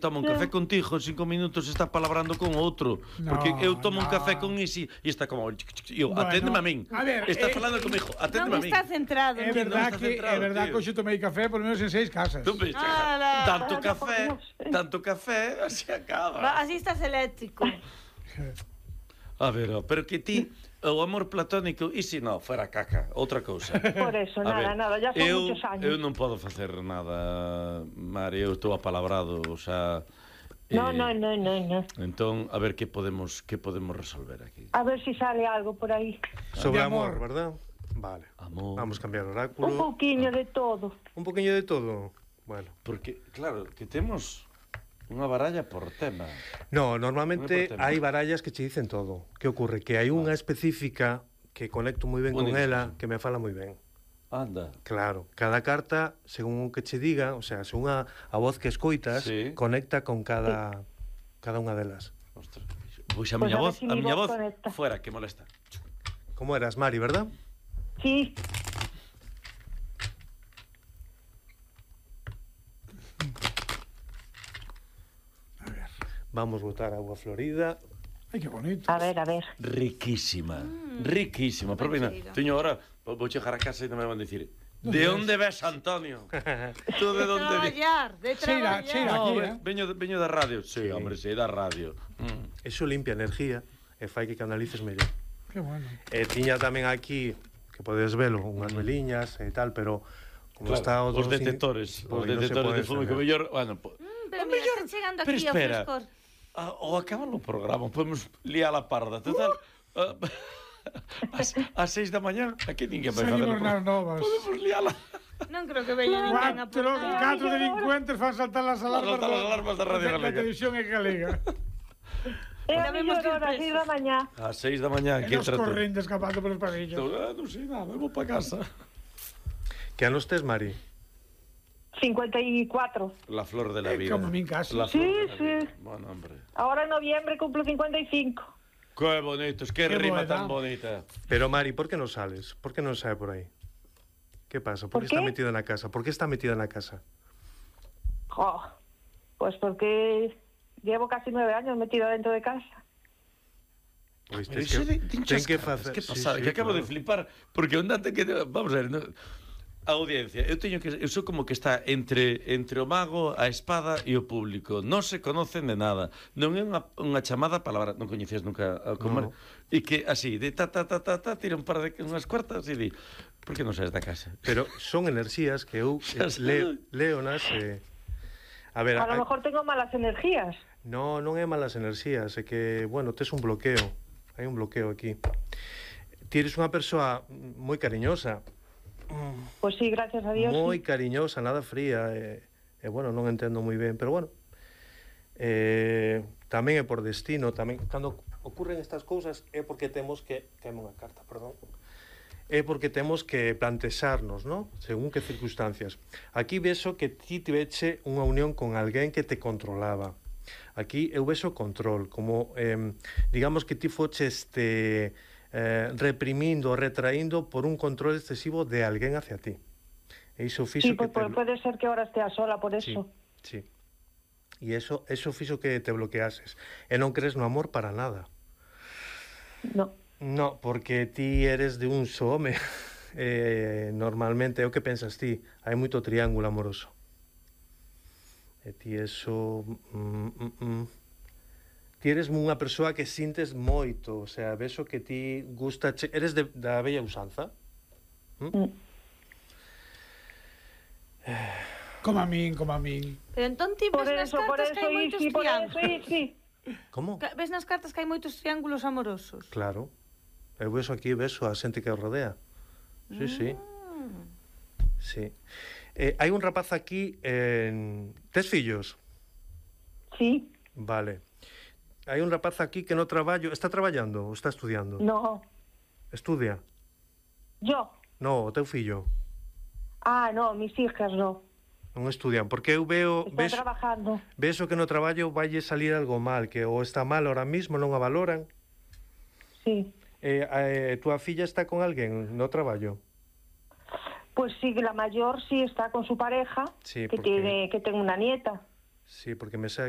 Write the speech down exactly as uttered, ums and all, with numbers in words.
Toma un café contigo, en cinco minutos está palabrando con outro. No, porque eu tomo no. un café con Isi e está como... Eu, Bueno, aténdeme a min. a ver, Está eh, falando comigo, aténdeme Non a min. está centrado. É non. verdad está que centrado, é verdad tío. que hoxe tomei café por lo menos en seis casas. Tú ves, Ala. tanto Ala, café, por Dios. tanto café, así Va, acaba. así estás eléctrico. A ver, oh, pero que ti, o amor platónico, e se non, fuera caca, outra cousa. Por eso, A nada, ver, nada, ya son eu, muchos años. Eu non podo facer nada, Mari, eu estou apalabrado, o sea... No, eh, no, no, no, no. Entón, a ver que podemos que podemos resolver aquí. A ver si sale algo por aí. Sobre De amor, amor. ¿verdad? Vale. Amor. Vamos a cambiar Un oráculo. pouquiño de todo. Un poquillo de todo. Bueno. Porque, claro, que temos unha baralla por tema. No, Non normalmente é por tema. hai barallas que che dicen todo. Que ocurre? Que hai unha específica que conecto moi ben con Única, ela, sí. que me fala moi ben. Anda. Claro, cada carta, según o que che diga, o sea, según a, a voz que escoitas, Sí. conecta con cada cada unha delas. Ostras. Pois a Pues miña a ver voz, si a mi miña voz voz, conecta. fuera, que molesta. Como eras, Mari, verdad? Sí, Vamos botar agua florida. Ai, que bonito. a ver, a ver. Riquísima. Riquísima. Pero mira, cheiro. teño ahora, vou chegar a casa e non me van dicir Non de ves? onde ves, Antonio? Tú de De onde ves? traballar, de Cheira, traballar. cheira. No, aquí, ve- eh. veño, de- veño da radio. Sí, Sí. hombre, sí, da radio. Mm. Eso limpia energía e fai que canalices mellor. Que bueno. E tiña tamén aquí, que podes velo, unhas veliñas e tal, pero como Claro, está o os dos detectores, pois os non se detectores pode de fumo que encender. mellor, bueno, po, Mm, pero o mira, mellor, está chegando pero aquí o espera. frescor. Ah, ou acaba o programa, podemos liar a parda, total. ah, As, as seis da mañá, aquí ninguén vai facer. Salimos nas novas. Podemos liala. Non creo que veña ninguén a por Cuatro, nada. catro delincuentes fan saltar as alarmas, saltar as alarmas da Radio da Galega. televisión e galega. É a Sabemos mellor que hora, impreso. seis da mañá. Ás seis da mañá, E aquí nos entra tú. correndo escapando polos pasillos. Ah, non sei nada, vou para casa. Que anos tes, Mari? cincuenta y cuatro. La flor de la Eh, vida. como min casi. La Sí, flor de la sí. vida. Bueno, hombre. Ahora en noviembre cumplo cincuenta y cinco. Qué bonitos, qué, Qué rima buena. tan bonita. Pero Mari, por que non sales? Por que non sae por aí? Que pasa? Por, ¿Por que está qué? metida na casa? Por que está metida na casa? Jo, pues porque llevo casi nueve años metida dentro de casa. Pois Pero tes iso de, que, tinchas ten que caras, facer... que Sí, pasa, sí, que acabo claro. de flipar, porque ondate que vamos a ver, no, a audiencia, eu teño que eu sou como que está entre entre o mago, a espada e o público. Non se conocen de nada. Non é unha unha chamada palabra, non coñecías nunca a No. como e que así, de ta ta ta ta ta tira un par de unhas cuartas e di, por que non saes da casa? Pero son enerxías que eu Xa eh, leo, sei. leonas e... A ver, A lo hai- mejor tengo malas energías. no, non é malas enerxías, é que, bueno, tes un bloqueo. Hai un bloqueo aquí. Ti eres unha persoa moi cariñosa, Pues sí, gracias a Dios. moi sí. cariñosa, nada fría, e, e bueno, non entendo moi ben, pero bueno. Eh, tamén é por destino, tamén cando ocurren estas cousas é porque temos que temos unha carta, perdón. É porque temos que plantexarnos, ¿no? Según que circunstancias. Aquí vexo que ti tiveche unha unión con alguén que te controlaba. Aquí eu vexo control, como eh, digamos que ti foche este eh, reprimindo, retraíndo por un control excesivo de alguén hacia ti. E iso fixo Sí, pues, que te... pues puede ser que ahora estea sola por Sí, eso. sí. E eso, eso fixo que te bloqueases. E non crees no amor para nada. No. No, porque ti eres de un só home. Eh, normalmente é o que pensas ti. Hai moito triángulo amoroso. E ti eso... Mm, mm, mm. Ti eres unha persoa que sintes moito. O sea, vexo que ti gusta... Che... Eres de, da bella usanza? Mm. Como a min, como a min. Pero entón ti Por ves nas eso, por cartas eso, que hai moitos Isi, por eso, triángulos. Isi. Como? Ca- Ves nas cartas que hai moitos triángulos amorosos. Claro. Eu vexo aquí, vexo a xente que o rodea. Sí, sí. Mm. Sí. Eh, hai un rapaz aquí en... Tes fillos? Sí, Vale. Hai un rapaz aquí que no traballo... Está traballando ou está estudiando? no. Estudia? Yo. No, o teu fillo. Ah, no, mis hijas no. Non estudian. Porque eu veo... Están Ves, trabajando. ves que no traballo valle salir algo mal, que ou está mal ahora mismo, non a valoran. Sí. Eh, eh, túa filla está con alguén no traballo? Pues sí, que la mayor sí está con su pareja, Sí, que porque- tiene que tiene una nieta. Sí, porque me sae aquí